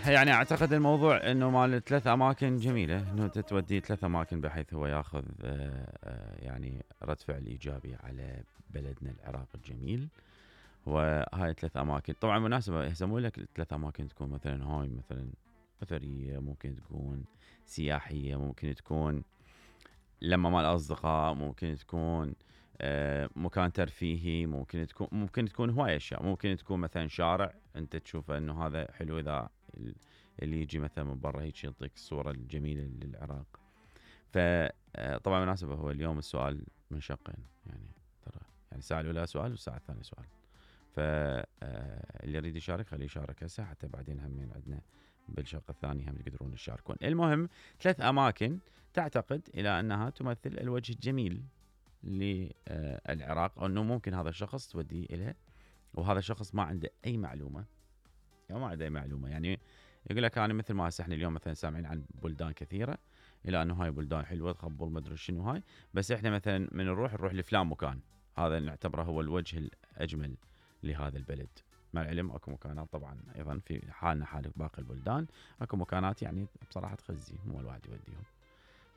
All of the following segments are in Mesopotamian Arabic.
يعني اعتقد الموضوع انه مال 3 اماكن جميله، انه تودي 3 اماكن بحيث هو ياخذ يعني رد فعل ايجابي على بلدنا العراق الجميل. وهاي 3 اماكن طبعا مناسبه، هسه مو لك 3 اماكن تكون مثلا هاي مثلا اثريه، ممكن تكون سياحيه، ممكن تكون لما مال اصدقاء، ممكن تكون مكان ترفيهي، ممكن تكون هواي اشياء، ممكن تكون مثلا شارع انت تشوفه انه هذا حلو، اذا اللي يجي مثلا من برا هيك يعطيك الصوره الجميله للعراق. فطبعا مناسبه هو اليوم السؤال من شقين، يعني ترى يعني الساعه الاولى سؤال والساعه الثانيه سؤال، فاللي يريد يشارك خليه يشارك هسه، حتى بعدين همين عندنا بالشق الثاني هم تقدرون تشاركون. المهم 3 اماكن تعتقد الى انها تمثل الوجه الجميل للعراق، او انه ممكن هذا الشخص توديه اليه وهذا الشخص ما عنده اي معلومه، يعني يقول لك انا مثل ما هسه احنا اليوم مثلا سامعين عن بلدان كثيره الى انه هاي بلدان حلوه تخبل ما ادري شنو هاي، بس احنا مثلا من نروح لفلان مكان، هذا نعتبره هو الوجه الاجمل لهذا البلد. مع العلم اكو مكانات طبعا ايضا في حالنا حال باقي البلدان، اكو مكانات يعني بصراحه تخزي مو الواحد يوديهم.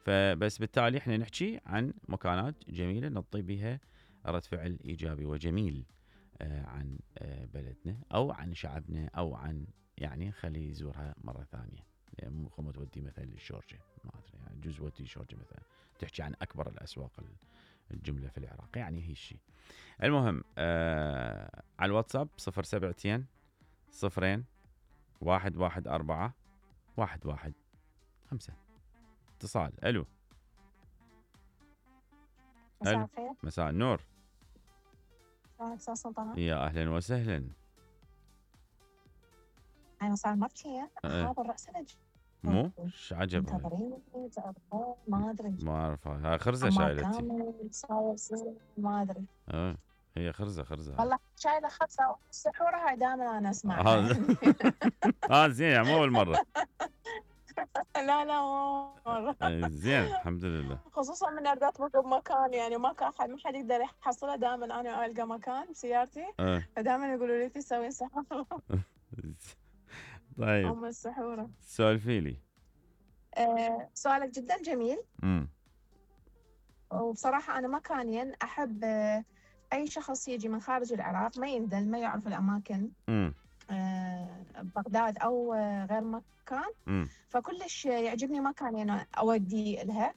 فبس بالتالي احنا نحكي عن مكانات جميله نعطي بها رد فعل ايجابي وجميل عن بلدنا او عن شعبنا، او عن يعني خليه يزورها مره ثانيه. يعني مو خمو تودي مثلا للشورجه، ما ادري يعني جزء ودي شورجه مثلا تحكي عن اكبر الاسواق الجمله في العراق، يعني هي الشيء. المهم على الواتساب 072 0 114 115 اتصال. الو مساء الخير. مساء النور. استاذ سلطان. يا اهلا وسهلا. انا صار مرتين هذا الراس مو ايش عجب منتظرين ما ادري ما اعرف، هاي خرزه شايلتي ما ادري. هي خرزه والله شايله خرزه السحوره هاي دائما انا اسمعها. زين مو اول مره. لا مو مره. زين الحمد لله. خصوصا من اريد اطبق بمكان يعني ما حد يقدر يحصلها، دائما انا القى مكان بسيارتي فدائما يقولوا لي تسوين سحوره. طيب ام السحوره سولفي لي. سؤالك جدا جميل. وبصراحه انا مكانيا احب اي شخص يجي من خارج العراق ما يندل ما يعرف الاماكن بغداد او غير مكان، فكلش يعجبني مكان انا اودي لها.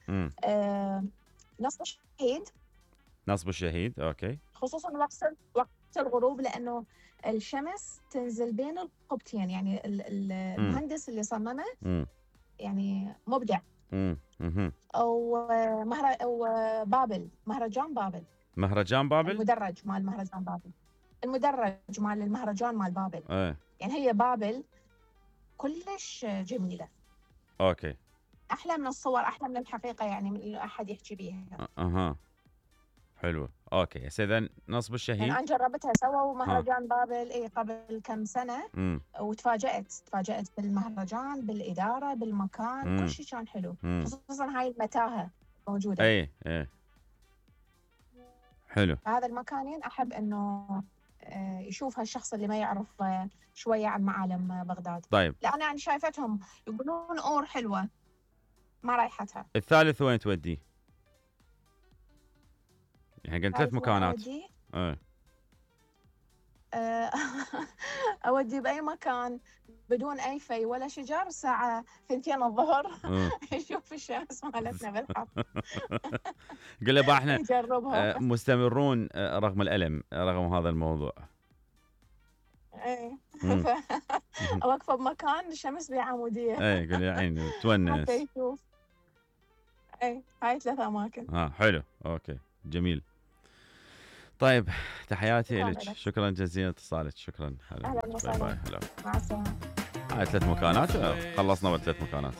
نصب الشهيد. نصب الشهيد اوكي. خصوصا وقت الغروب، لانه الشمس تنزل بين القبتين، يعني المهندس اللي صممه يعني مبدع. او بابل، مهرجان بابل. المدرج مال مهرجان بابل، المدرج مال المهرجان مال بابل. يعني هي بابل كلش جميلة. اوكي. احلى من الصور، احلى من الحقيقة، يعني من احد يحكي بيها. حلوة. اوكي اذا نصب الشهيد يعني انا جربتها، سووا مهرجان بابل قبل كم سنة وتفاجأت بالمهرجان، بالإدارة، بالمكان، كل شيء كان حلو. خصوصا هاي المتاهة موجودة. اي حلو. هذا المكانين احب انه يشوف هالشخص اللي ما يعرف شوية عن معالم بغداد. طيب لأن أنا شايفتهم يقولون أور حلوة ما رايحتها. الثالث وين تودي؟ يعني قلت 3 مكانات. أودي بأي مكان بدون أي في ولا شجر الساعة 2 الظهر يشوف الشمس مالتنا بالحر. قل له احنا مستمرون رغم الألم، رغم هذا الموضوع. أوقفه بمكان الشمس بعمودية. قل يا عيني تونس. حتى يشوف. هاي 3 أماكن. حلو اوكي جميل. طيب تحياتي لك، شكرا جزيلا اتصالك، شكرا. اهلا وسهلا. مع السلامه. هاي 3 مكانات خلصنا ب3 مكانات.